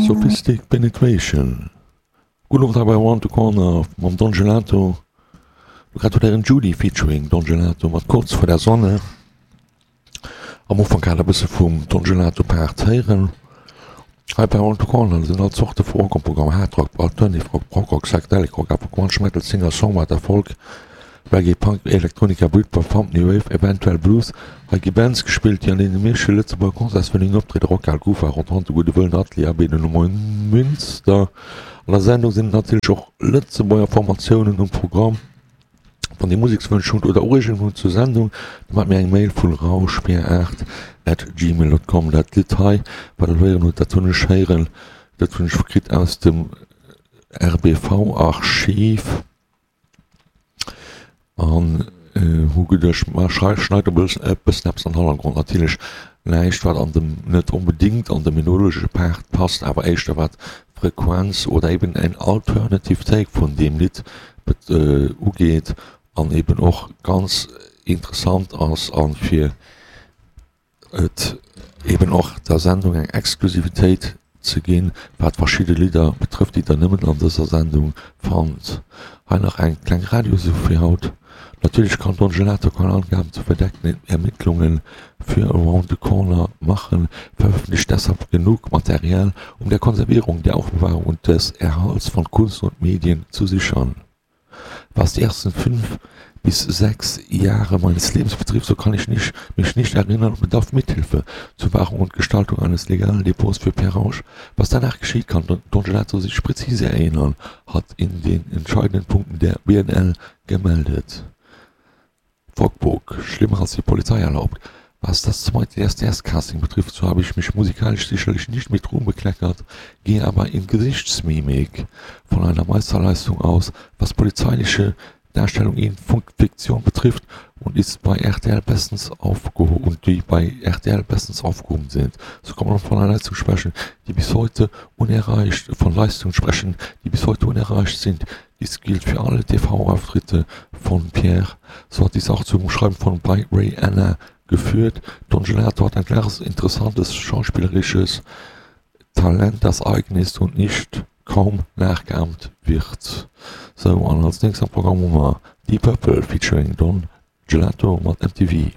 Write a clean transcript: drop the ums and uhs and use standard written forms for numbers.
Sophistic Penetration. Gudden Owend hei bei Around the Corner mam Don Gelato. Lo grad huet Ären Judy featuring Don Gelato mat Kurz vor der Sonne. Am Ufank hat e bësse vum Don Gelato Part héieren. Hei bei Around the Corner sinn all Zorte vu Rock am Programm, Hard Rock, Alternative Rock, Prog Rock, Psychedelic Rock, awer Grunge, Metal, Singer, Songwriter, Folk, Reggae, Punk, Elektronika, Britpop, Funk, New Wave, eventuell Blues. Hei gi Bands gespillt, déi an deene meeschte Lëtzebuerger Concertsvenueën optrieden, Rockhal, Kufa, Rotonde, Gudde Wëllen, Atelier, Abbey, den Neumünster. An der Sendung sinn natierlech och Lëtzebuerger Formatiounen um Programm. Wann Dir Musekswënsch hutt oder Ureegungen hutt zur Sendung, da maacht mir eng Mail vun rauschbier8 at gmail.com. Dat Lidd hei, wat Der héieren hutt, dat hunn ech héieren, dat hunn ech kritt aus dem RBV-Archiv. An hu geduecht, ma schneit e bëssen eppes an den Hannergrond. Natierlech näischt, wat an dem, net onbedéngt an de melodesche Part passt, awer éischter wat d'Frequenz oder eben en alternative Take vun deem Lidd ugeet an eben och ganz interessant ass a fir et eben och der Sendung eng Exklusivitéit ze ginn, wat verschidde Lidder betrëfft, déi der nëmmen an dëser Sendung fannt. Hei nach eng kleng Radiosuf fir haut. Natürlich kann Don Gelato keine Angaben zu verdeckten Ermittlungen für Around the Corner machen, veröffentlicht deshalb genug Material, um der Konservierung, der Aufbewahrung und des Erhalts von Kunst und Medien zu sichern. Was die ersten 5 bis 6 Jahre meines Lebens betrifft, so kann ich nicht, mich nicht erinnern und bedarf Mithilfe zur Wahrung und Gestaltung eines legalen Depots für Pierre Rausch. Was danach geschieht, kann Don Gelato sich präzise erinnern, hat in den entscheidenden Punkten der BNL gemeldet. Fogbook, schlimmer als die Polizei erlaubt. Was das zweite SDS-Casting betrifft, so habe ich mich musikalisch sicherlich nicht mit Ruhm bekleckert, gehe aber in Gesichtsmimik von einer Meisterleistung aus, was polizeiliche Darstellung in Fiktion betrifft und ist bei RTL bestens aufgehoben und die bei RTL bestens aufgehoben sind. So kann man von einer Leistung sprechen, die bis heute unerreicht von Leistungen sprechen, die bis heute unerreicht sind. Dies gilt für alle TV-Auftritte von Pierre. So hat dies auch zum Schreiben von bei Ray Anna geführt. Don Gelato hat ein klares, interessantes schauspielerisches Talent, das eigen ist und nicht kaum nachgeahmt wird. Sou, an als nächst am Programm hu mer Deep Purple featuring Don Gelato mat MTV.